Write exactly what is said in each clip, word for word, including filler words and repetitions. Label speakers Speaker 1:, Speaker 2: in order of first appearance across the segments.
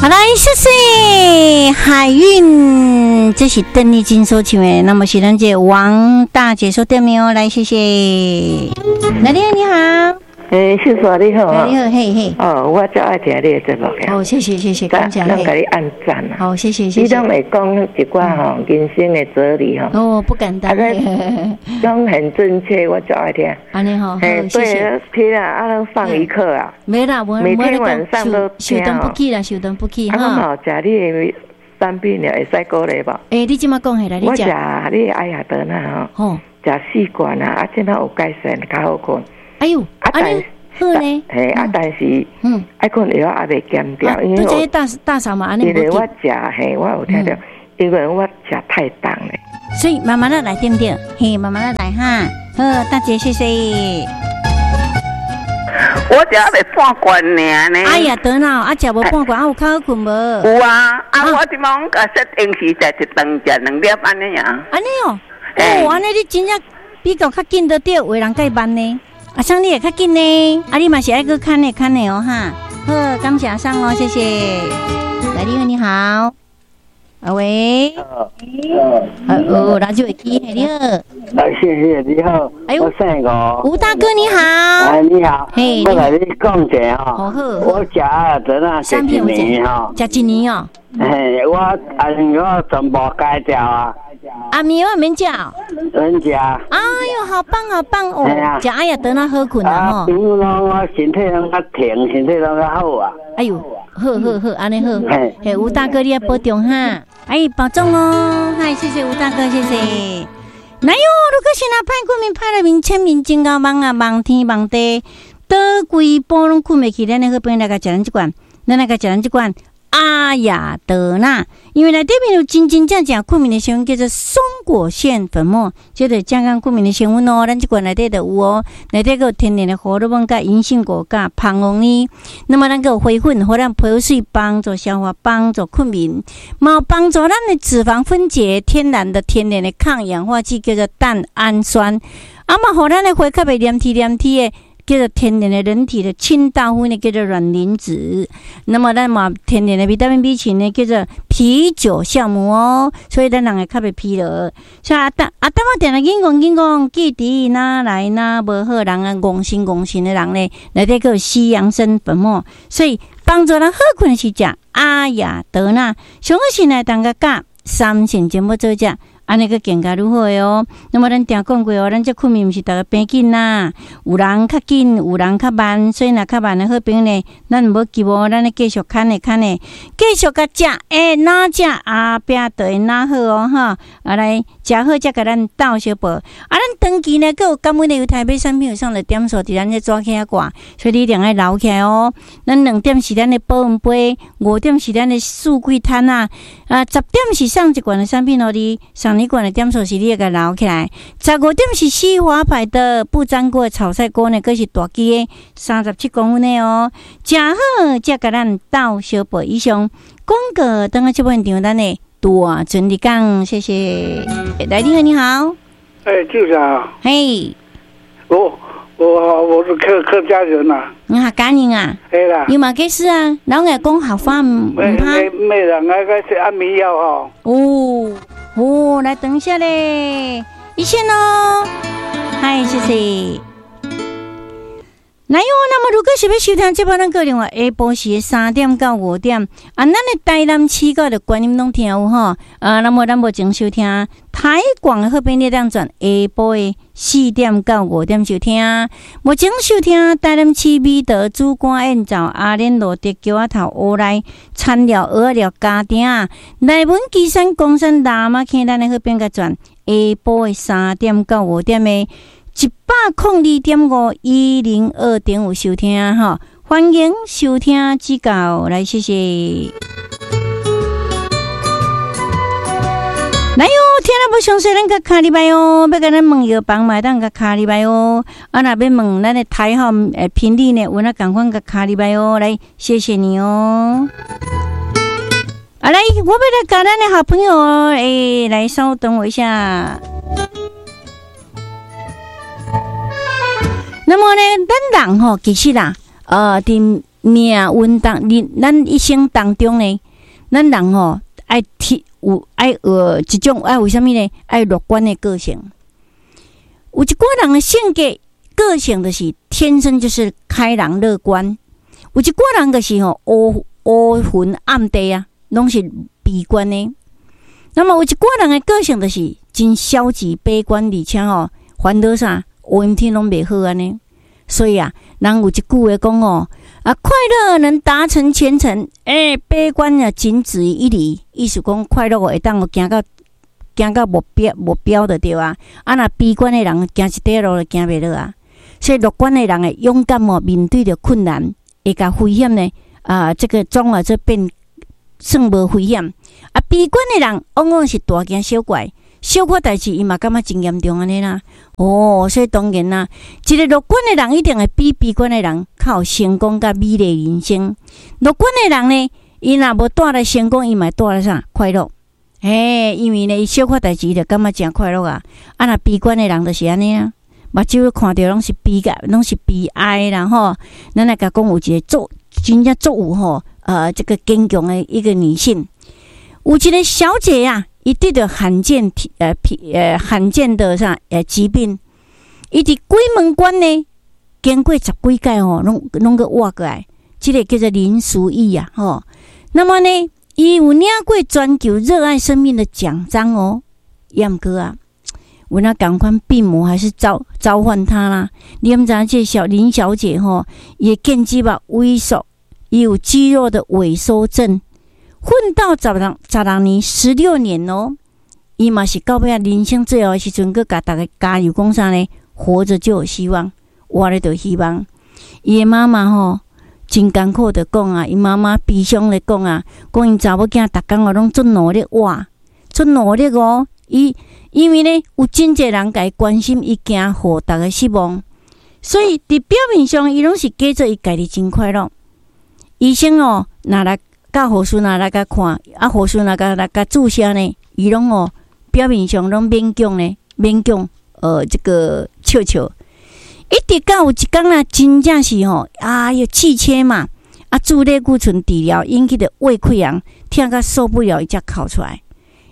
Speaker 1: 好來，謝謝海運，這是鄧麗君所唱的，那麼是咱這個王大姐所點的哦，來，謝謝。來，你好，你好。
Speaker 2: 欸，秀莎你好啊！
Speaker 1: 你好，嘿嘿。
Speaker 2: 哦，我足愛聽你的節目的。
Speaker 1: 哦，謝謝謝謝，感謝。
Speaker 2: 咱共你按讚啊！
Speaker 1: 好，謝謝謝謝。
Speaker 2: 你攏會講一寡吼人生的哲理吼。
Speaker 1: 哦，不敢當。
Speaker 2: 攏很正確，我足愛聽。
Speaker 1: 按呢吼，
Speaker 2: 嘿，對，聽啊，啊，攏上一課啊。
Speaker 1: 沒啦，我
Speaker 2: 每天晚上都
Speaker 1: 聽。受當不起啦，受當不起。
Speaker 2: 啊，我嘛有食你的產品了，會使鼓勵無？
Speaker 1: 欸，你這馬講起來，你
Speaker 2: 我食你的愛亞德納吼，食四罐啊，啊，這馬有改善，較好睏。
Speaker 1: 哎喲，
Speaker 2: 啊，但
Speaker 1: 好呢，
Speaker 2: 嘿，啊，但是，嗯，愛睏藥猶未減掉，因為
Speaker 1: 我大大嫂嘛，按呢
Speaker 2: 因為我食嘿，我有聽著，因為我食太重咧，
Speaker 1: 所以慢慢仔來對毋對？嘿，慢慢仔來哈。好，大姐謝謝。
Speaker 3: 我食猶未半罐爾呢。
Speaker 1: 哎呀，得啦，啊，食無半罐，啊有較好睏無？
Speaker 3: 有啊，啊，我這馬攏共設定時食一頓食兩粒按呢爾。
Speaker 1: 按呢哦，哦，按呢你真正比較較緊著對，有的人較慢呢。阿桑，你會較緊呢？啊，你嘛是愛閣牽的牽的哦，哈。好，感謝阿桑哦，謝謝。來，你好，你好。啊喂。哦，那就會記，你好。
Speaker 4: 啊，謝謝你好。
Speaker 1: 哎
Speaker 4: 我姓吳。
Speaker 1: 吳大哥你好。
Speaker 4: 哎，你好。
Speaker 1: 嘿，
Speaker 4: 我來你講一下
Speaker 1: 吼。好。
Speaker 4: 我食啊，陣啊，食一年吼。
Speaker 1: 食一年哦。
Speaker 4: 嘿，我啊，我全部戒掉啊。
Speaker 1: 阿米我免食。
Speaker 4: 免食。
Speaker 1: 哎喲，好棒好棒哦！食愛亞德納好睏啊吼。
Speaker 4: 比如講我身體攏較停，身體攏較好啊。
Speaker 1: 哎喲，好好好，按呢好。嘿，吳大哥你要保重哈。哎，保重哦。嗨，謝謝吳大哥，謝謝。來喲，如果是若歹困眠，歹來眠淺眠真𠢕夢啊，夢天夢地，倒規晡攏睏袂去。咱的好朋友來共食咱這罐，咱來共食咱這罐。阿雅德納，因為內底面有真真正正睏眠的成分，叫做松果腺粉末，這個健康睏眠的成分哦。咱這罐內底就有哦，內底閣有天然的胡蘿蔔、佮銀杏果、佮蜂王乳。那麼咱閣有花粉，予咱皮膚媠，幫助消化，幫助睏眠，嘛有幫助咱的脂肪分解，天然的天然的抗氧化劑叫做蛋氨酸，啊嘛，予咱的血較袂黏貼黏貼的。叫做天然的人體的清道夫呢，叫做卵磷脂。那麼咱嘛天然的維他命 B 群呢，叫做啤酒酵母哦。所以咱人會較袂疲勞。所以阿當阿當我定定緊講緊講，記得哪來哪無好人啊，戇神戇神的人呢，內底閣有西洋參粉末，所以幫助咱好睏是食阿雅德納。上好是來當個教三成全部做食。按呢閣更加愈好的哦。那麼咱定講過哦，咱這睏眠毋是逐个平緊啦，有人較緊，有人較慢，所以若較慢的好朋友呢，咱毋好急哦，咱咧繼續牽的牽的，繼續共食，欸，哪食後壁就會哪好哦，哈，啊來食好才共咱鬥相報。啊，咱長期呢，閣有感恩的猶太買產品有送的點數佇咱這紙起掛，所以你一定愛留起來哦。咱兩點是咱的保溫杯，五點是咱的四季攤啊，啊，十點是送一罐的產品予你，送。你罐的點數是你會共留起來，十五點是西華牌的不粘鍋炒菜鍋呢，閣是大支的三十七公分的哦。誠好，才共咱鬥相報。以上廣告，等下這部分場咱的大尊的講，謝謝。來，你好，你好。
Speaker 5: 哎，就是啊。
Speaker 1: 嘿，
Speaker 5: 我我我是客客家人呐。
Speaker 1: 你客家人啊？
Speaker 5: 對啦。
Speaker 1: 有嘛解釋啊？老愛講客話毋毋怕。
Speaker 5: 沒沒人愛個食安眠藥吼。
Speaker 1: 哦。哦，來等一下咧，一線哦，嗨，謝謝。來喲，那麼如果是欲收聽這擺，咱閣另外下晡時三點到五點，啊，咱的台南市到的觀音攏聽有吼，啊，那麼咱目前收聽台廣的好朋友當轉下晡的四點到五點收聽，目前收聽台南市美德主官燕灶阿蓮路竹橋仔頭烏來田寮蚵仔寮家埕內文旗山岡山喇嘛坑，咱的好朋友轉下晡的三點到五點的。一百空二點五一零二點五收聽吼，歡迎收聽指教來，謝謝。來喲，聽了無詳細，咱共敲入來哦。欲共咱問藥房嘛會當共敲入來哦。啊，若欲問咱的台號誒頻率呢，有哪仝款共敲入來哦。來，謝謝你哦。啊，來，我欲來共咱的好朋友誒，來稍等我一下。那麼呢，咱人吼，其實啦，呃，佇命運當，咱一生當中呢，咱人吼愛提有愛學一種愛有啥物呢？愛樂觀的個性。有一寡人的性格個性就是天生就是開朗樂觀，有一寡人就是吼烏烏雲暗地啊，攏是悲觀的。那麼有一寡人的個性就是真消極悲觀，而且吼煩惱啥烏陰天攏袂好按呢。所以啊，人有一句話講哦，啊，快樂能達成前程，欸，悲觀啊僅止於一里。意思講快樂會當行到行到目標目標就對啊。啊，若悲觀的人行一塊路就行袂落啊。所以樂觀的人會勇敢哦，面對著困難，會共危險呢啊，這個總啊這變算無危險。啊，悲觀的人往往是大驚小怪，小可代誌伊嘛感覺真嚴重按呢啦。哦，所以當然啦，一個樂觀的人一定會比悲觀的人較有成功佮美麗人生。樂觀的人呢，伊若無帶來成功，伊嘛會帶來啥快樂？嘿，因為呢，伊小可代誌伊就感覺誠快樂啊。啊，若悲觀的人就是按呢啊，目睭看著攏是悲個，攏是悲哀啦吼。咱來共講有一個足真正足有吼，呃，這個堅強的一個女性，有一個小姐啊，伊得著罕見體呃呃罕見的啥呃疾病，伊佇鬼門關呢，經過十幾屆吼，攏攏閣活過來，這個叫做林淑義啊吼。那麼呢，伊有領過全球熱愛生命的獎章哦，毋過啊，有那仝款病魔還是召召喚他啦。你毋知影這小林小姐吼，伊的腱肌吧萎縮，伊有肌肉的萎縮症。奮鬥十六十六年，十六年哦，伊嘛是到尾仔人生最後的時陣，閣共逐家加油講啥呢？活著就有希望，活咧就有希望。伊的媽媽吼，真艱苦的講啊，伊媽媽悲傷咧講啊，講𪜶查某囝逐工哦攏足努力活，足努力哦。伊因為呢，有真濟人共伊關心，伊驚予逐家失望，所以佇表面上，伊攏是假做伊家己真快樂。醫生哦，若來佮護士若來共看，啊護士若共來共注射呢，伊攏哦表面上攏勉強呢，勉強呃這個笑笑。一直到有一工啊，真正是吼，哎喲氣切嘛，啊注類固醇治療引起的胃潰瘍，疼甲受不了，伊才哭出來。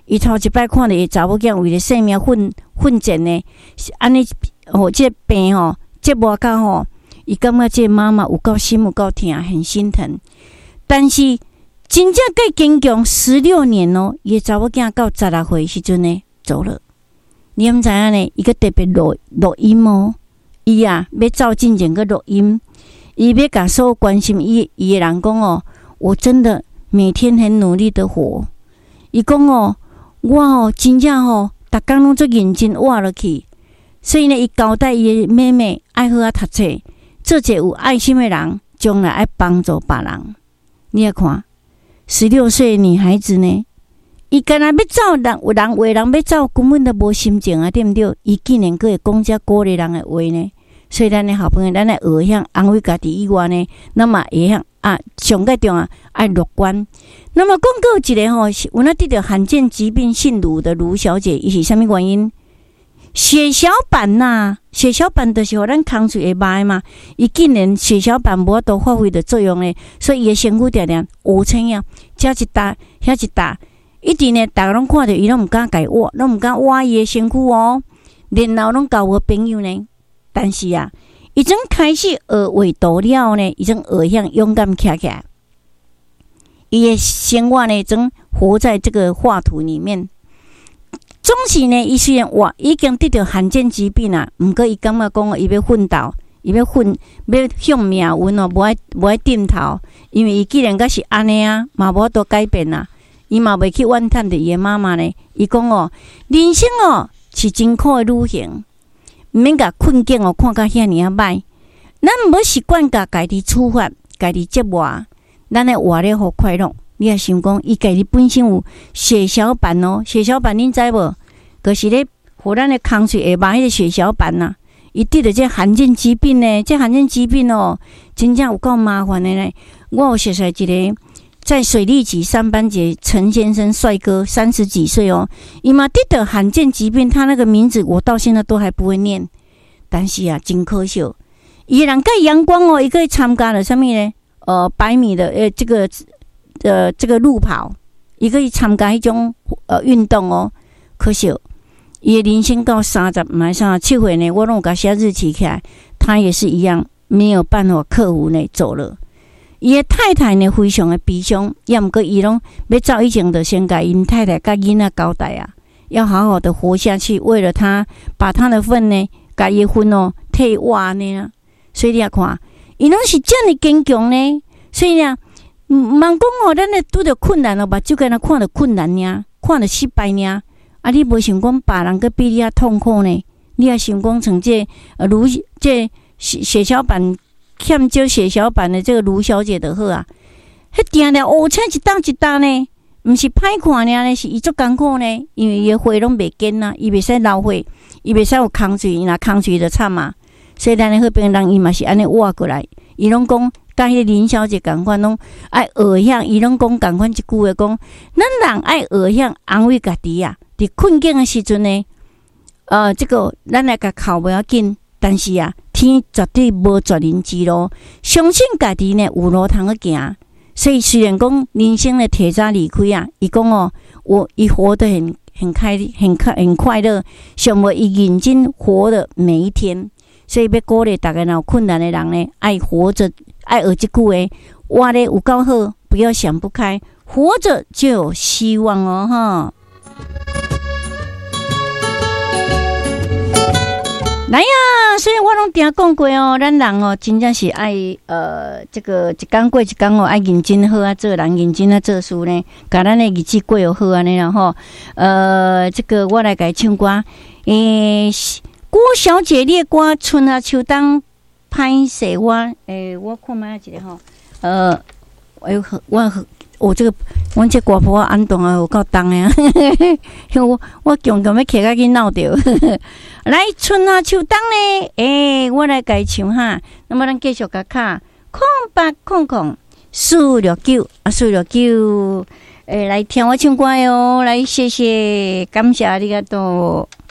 Speaker 1: 伊頭一擺看著伊查某囝為著性命奮奮戰呢，按呢吼這個病吼折磨甲吼，伊感覺這個媽媽有夠心有夠疼，很心疼。但是真正閣堅強十六年哦，伊的查某囝到十六歲時陣呢走了。你毋知影呢？伊閣特別錄錄音哦，伊啊欲走進前閣錄音，伊欲共所有關心伊伊的人講哦，我真的每天很努力的活。伊講哦，我哦真正吼，逐工攏足認真活落去。所以呢，伊交代伊的妹妹愛好好讀冊，做一個有愛心的人，將來愛幫助別人。你來看，十六歲女孩子呢，伊干焦欲走，人有人話人欲走，根本都無心情啊，對毋對？伊竟然閣會講遮鼓勵人的話呢？所以咱的好朋友，咱來學曉安慰家己以外呢，咱嘛會曉啊，上蓋重要愛樂觀。那麼講閣有一個吼，有那得著罕見疾病姓盧的盧小姐，伊是啥物原因？血小板吶，血小板就是予咱空喙會肉的嘛。伊竟然血小板無法度發揮著作用呢，所以伊的身軀定定烏青啊，遮一搭，遐一搭，一直呢，逐家攏看著伊，攏毋敢共伊挖，攏毋敢挖伊的身軀哦。然後攏交無朋友呢。但是啊，伊陣開始學畫圖了呢，伊陣學曉勇敢徛起來。伊的生活呢，總活在這個畫圖裡面。總是呢，伊雖然活已經得著罕見疾病啊，毋過伊感覺講伊欲奮鬥，伊欲奮，欲向命運哦，無愛無愛點頭，因為伊既然閣是按呢啊，嘛無法度改變啊，伊嘛袂去怨嘆著伊的媽媽呢。伊講哦，人生哦是真苦的旅行，毋免共困境哦看甲遐爾仔歹，咱毋好習慣共家己處罰、家己折磨，咱愛活咧予快樂。你也想講，伊家己本身有血小板哦，血小板恁知無？就是咧，予咱的空喙會肉彼個血小板呐，伊得著這罕見疾病呢，這罕見疾病哦，真正有夠麻煩的呢。我有熟似一個在水利局上班的陳先生，帥哥，三十幾歲哦，伊嘛得著罕見疾病，他那個名字我到現在都還不會念，但是啊，真可惜，伊人蓋陽光哦，伊閣參加了啥物呢？呃百米的呃這個呃這個路跑，伊閣去參加彼種呃運動哦。可惜伊的人生到三十毋是三十七歲呢，我攏有共寫日期起來，他也是一樣沒有辦法克服呢，走了。伊的太太呢，非常的悲傷，也毋過伊攏欲走以前，就先共𪜶太太佮囡仔交代啊，要好好的活下去，為了他把他的份呢，共伊的份哦，替伊活按呢。所以你也看，伊攏是遮爾堅強呢。所以啊，毋茫講哦，咱咧拄著困難哦，目睭干焦看著困難爾，看著失敗爾。啊，你無想講別人閣比你較痛苦呢？你也想講像這呃盧這血血小板欠少血小板的這個盧小姐就好啊。彼定定烏青一沓一沓呢，毋是歹看爾呢，是伊足艱苦呢，因為伊的血攏袂堅啊，伊袂使流血，伊袂使有空喙，伊若空喙就慘啊。所以咱的好病人伊嘛是按呢活過來，伊攏講佮彼個林小姐仝款，攏愛學曉，伊攏講仝款一句話講，咱人愛學曉安慰家己啊。佇困境的時陣呢，呃，這個咱來共哭無要緊，但是啊，天絕對無絕人之路，相信家己呢有路通去行。所以雖然講人生的提早離開啊，伊講哦，我伊活得很很開很快很快樂，想欲伊認真活的每一天。所以欲鼓勵逐家若有困難的人呢，愛活著，愛學這句話，活得有夠好，不要想不開，活著就有希望哦，哈。來啊！所以我攏定講過哦，咱人哦，真正是愛呃，這個一工過一工哦，愛認真好啊做人，認真啊做事呢，共咱的日子過好按呢啦吼。呃，這個我來共伊唱歌，欸，郭小姐，你的歌春夏秋冬歹勢我，欸，我看覓一下吼，呃，哎呦，我我這個，阮這歌譜按斷啊，有夠重的啊！我我強強欲揢較緊鬧著。來，春夏秋冬呢？欸，我來共伊唱哈。那麼咱繼續共敲空八空空四六九啊，四六九，欸，來聽我唱歌喲！來，謝謝，感謝，ありがとう。